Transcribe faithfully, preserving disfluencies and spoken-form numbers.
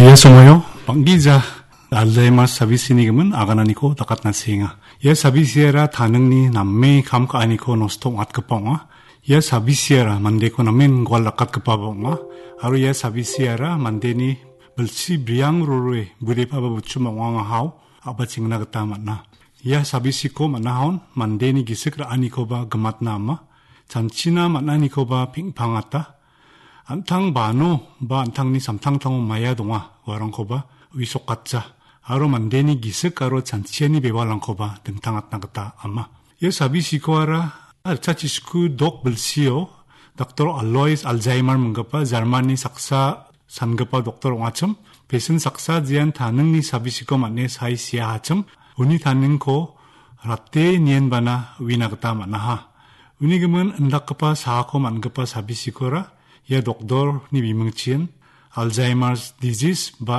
Ia somoio bang·gija Alzheimer sabisini gimin agananiko dakatna seenga. Ia sabisiara taningni name kam ka·aniko nosto ong·atgipa ong·a. Ia sabisiara mandeko namen gual dakatgipaba ong·a. Aro ia sabisiara mandeni bilsi briang rorue budepaba buchuma ong·angahao a·bachengna gita man·a. Ia sabisiko man·ahon mandeni gisik ra·anikoba gimatna ama, chanchina man·anikoba peng·pangata. An·tang bano ba an·tangni samtangtango maia donga uarangkoba uisokatja. Aro mandeni gisik aro chanchiani bewalrangkoba dingtangatna gita ama. Ia sabisikoara ritchachisku dok bilsio Doktor Alois Alzheimer minggipa Germany saksa sangipa doktor ong·achim. Pesin saksa jean taningni sabisiko man·e sai siahachim. Uni taningko rate nienbana uina gita man·aha. Uni gimin indakgipa saako man·gipa sabisikora ia doktorni bimingchin Alzheimer's disease ba